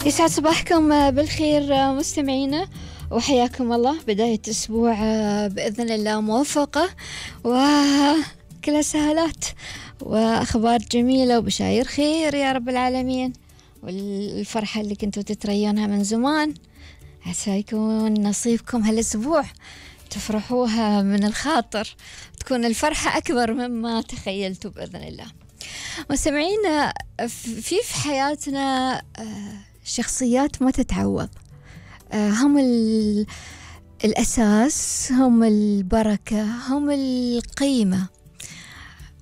يسعد صباحكم بالخير مستمعينا، وحياكم الله. بداية أسبوع بإذن الله موفقة وكلها سهالات وأخبار جميلة وبشاير خير يا رب العالمين. والفرحة اللي كنتوا تتريونها من زمان عسى يكون نصيبكم هالأسبوع، تفرحوها من الخاطر، تكون الفرحة أكبر مما تخيلتوا بإذن الله. مستمعينا، في حياتنا شخصيات ما تتعوض، هم الأساس، هم البركة، هم القيمة.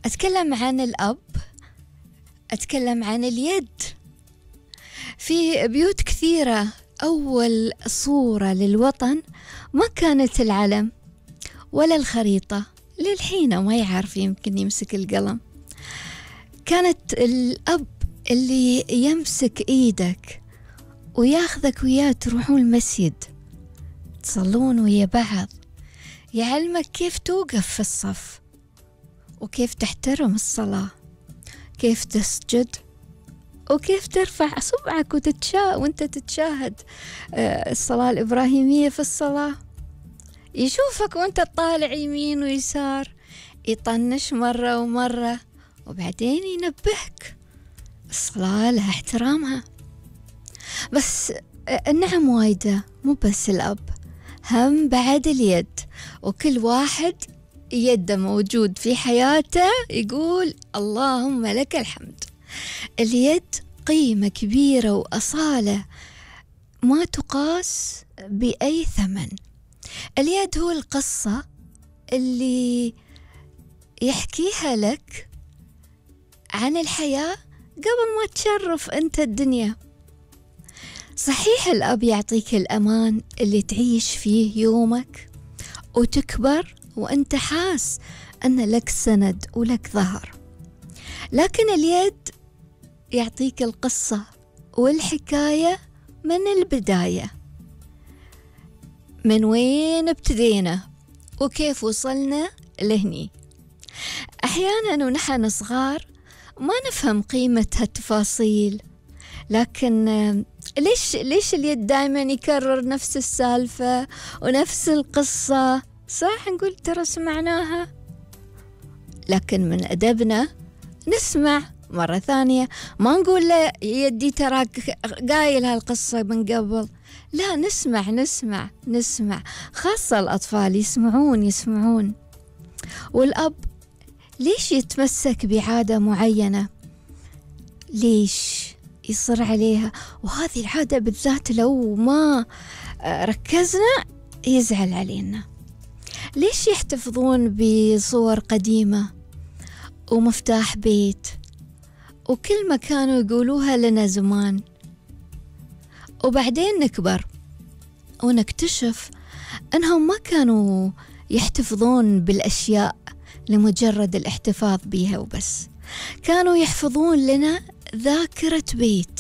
أتكلم عن الأب، أتكلم عن اليد. في بيوت كثيرة أول صورة للوطن ما كانت العلم ولا الخريطة، للحين ما يعرف يمكن يمسك القلم. كانت الأب اللي يمسك إيدك وياخذك وياه تروحون المسجد تصلون ويا بعض، يعلمك كيف توقف في الصف وكيف تحترم الصلاة، كيف تسجد وكيف ترفع صبعك وانت تتشاهد الصلاة الإبراهيمية في الصلاة. يشوفك وانت تطالع يمين ويسار، يطنش مرة ومرة وبعدين ينبهك الصلاة لها احترامها. بس النعم وايدة، مو بس الأب، هم بعد اليد. وكل واحد يده موجود في حياته يقول اللهم لك الحمد. اليد قيمة كبيرة وأصالة ما تقاس بأي ثمن. اليد هو القصة اللي يحكيها لك عن الحياة قبل ما تشرف أنت الدنيا. صحيح الأب يعطيك الأمان اللي تعيش فيه يومك وتكبر وأنت حاس أن لك سند ولك ظهر، لكن اليد يعطيك القصة والحكاية من البداية، من وين ابتدينا وكيف وصلنا لهني. أحيانا ونحن صغار ما نفهم قيمة هالتفاصيل، لكن ليش اليد دائما يكرر نفس السالفة ونفس القصة؟ صح نقول ترى سمعناها، لكن من أدبنا نسمع مرة ثانية، ما نقول له يدي تراك قايل هالقصة من قبل، لا، نسمع، خاصة الأطفال يسمعون. والأب ليش يتمسك بعادة معينة؟ ليش يصر عليها؟ وهذه العادة بالذات لو ما ركزنا يزعل علينا. ليش يحتفظون بصور قديمة ومفتاح بيت وكل ما كانوا يقولوها لنا زمان، وبعدين نكبر ونكتشف أنهم ما كانوا يحتفظون بالأشياء لمجرد الاحتفاظ بها وبس، كانوا يحفظون لنا ذاكرة بيت،